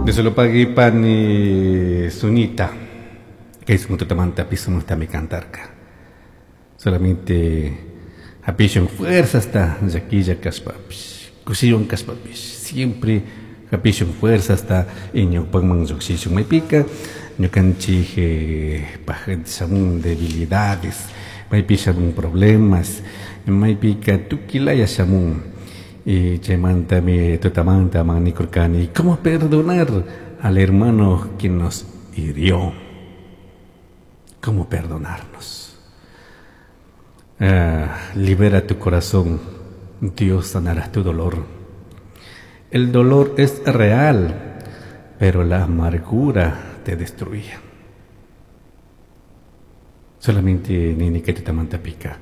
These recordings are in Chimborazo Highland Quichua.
Dios lo pague pani Sunita, kay tutamanta pisumantami cantarka. Solamente hapishun fuerzasta llaquilla kashpapish, kushiywan kashpapish, siempre hapishun fuerzasta ñawpakman lluqshishun. Maypika ñukanchik paj shamun debilidades, maypi shamun problemas, maypika tukilaya shamun. Y chaymantami tutamanta manikurkani, ¿cómo perdonar al hermano que nos hirió? ¿Cómo perdonarnos? Libera tu corazón, Dios sanará tu dolor. El dolor es real, pero la amargura te destruye. Solamente nini que te manta pica.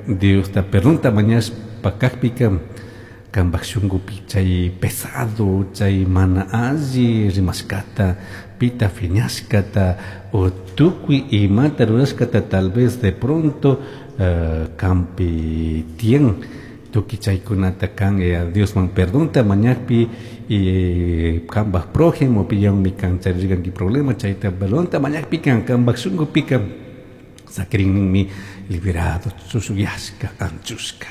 Dios te perdona mañas pakakpika kambak shungupi chay pesado chay mana alli rimashkata pita fiñashkata o tukuy imata rurashkata tal vez de pronto kampi tiyan tukuy chaykunata kan Diosman perdonta mañakpi y kambak prójimo piyanmi kan charirkanki problema chayta perdonta mañakpi kan kambak shungupika sakirinninmi liberado chushuyashka anchushka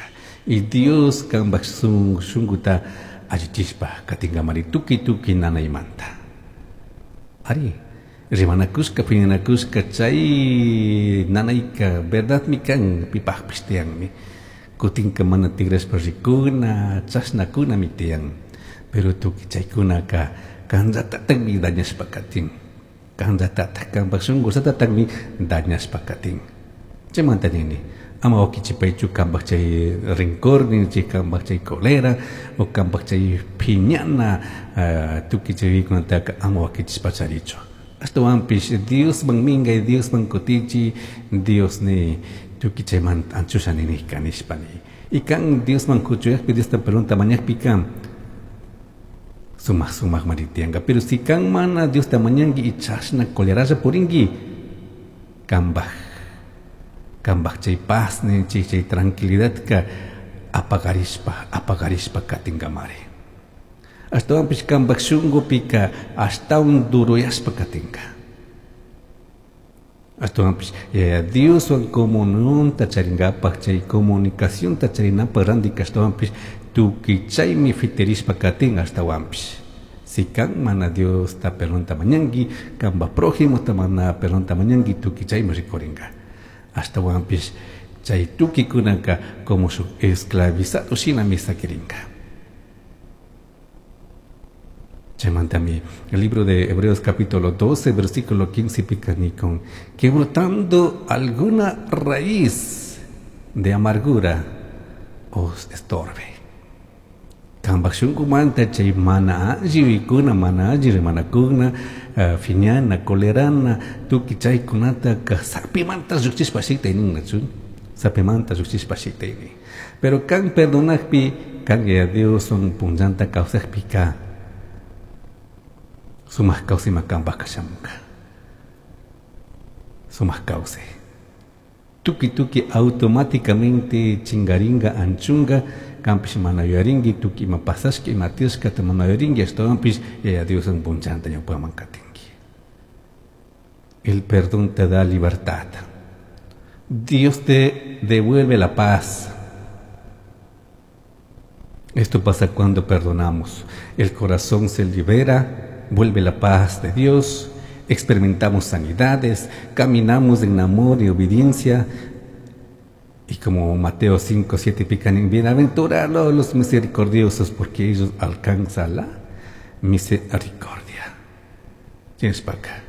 y Dios kambak shunguta allichishpa katinkamari tukuy tukuy nanaymanta. Ari rimanakushka piñanakushka chay nanayka verdadmi kan pipajpish tiyanmi kutinka mana tigrashpa rikuna chashnakunami tiyan pero tukuy chaykunaka kanllatatakmi dañashpa katin kanllatatak kanpak shungullatataqmi dañashpa katin. Chaymanta nini ama wakichipaychu kanpak chay rencor ninchik kanpak chay cólera o kanpak chay phiñana tukuy chaykunataka ama wakichishpa charichu. Ashtawanpish Diosman minkay Diosman kutichi Dios ni tukuy chaymanta anchusha ninika nishpa ni. Y kan Diosman kuchuyakpi Diosta perdonta mañakpi kan sumaq sumaq maritiyanka. Pero si kan mana Diosta mañanki y chashna coleralla purinki kambaj chay paz ninchik chay tranquilidadka apagarishpa apagarishpa katinkamari. Ashtawanpish kambaj shunqupika ashtawan duruyashpa katinka. Ashtawanpish Dioswan comunionta charinkapak chay comunicacionta charinapaq randika ashtawanpish tukuy chaymi fitirishpa katin ashtawanpish. Si kan mana Diosta perdonta mañanki, kambaj prójimota mana perdonta mañanki, tukuy chaymi rikurinka. Ashtawanpish chay tukuy-kunaka como shuk esclavizado shinami sakirinka. Chaymantami el libro de Hebreos capítulo 12 versículo 15 picanicon que brotando alguna raíz de amargura os estorbe. Kambak shunqumanta chay mana alli wikuna mana alli rimanakuna fiñana colerana tukuy chaykunata sapimanta lluqchishpa shitaynin sapimanta lluqchishpa shitaynin. Pero kan perdonakpi kan ya Dioswan punllanta kawsakpika sumaq kawsayma kanpaq kashamunka. Sumaq kawsay. Tukuy tukuy automáticamente chingaringa anchunga kanpish mana yuyarinki tukuy ima pasashka ima tiyashkata mana yuyarinki ashtawanpish Yaya Dioswan punllanta ñawpaman katinki. El perdón te da libertad. Dios te devuelve la paz. Esto pasa cuando perdonamos. El corazón se libera, vuelve la paz de Dios, experimentamos sanidades, caminamos en amor y obediencia. Y como Mateo 5, 7 pican, bienaventurados los misericordiosos, porque ellos alcanzan la misericordia. Tienes para acá.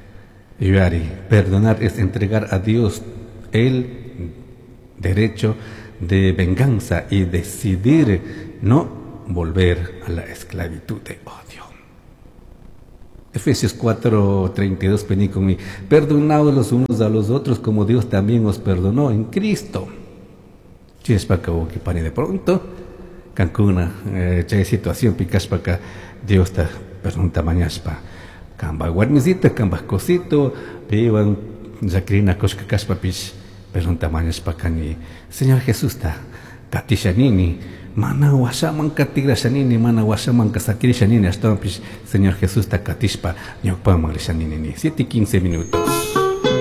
Yari, perdonar es entregar a Dios el derecho de venganza y decidir no volver a la esclavitud de odio. Efesios 4, 32, penicomi, perdonaos los unos a los otros como Dios también os perdonó en Cristo. Chispaca o que pane de pronto, Cancuna, chay situación picaspaca, Dios te perdona mañaspa. Camba guarmisita, camba cosito, piban, zacrina cosca caspa pis, perdona mañaspa cani. Señor Jesús ta, katisha nini, Mana huashamanca tigrasha nini, mana huashamanca saquirisha nini, ashtahuanpish Señor Jesusta catishpa ñawpaman risha nini. 7:15 minutos.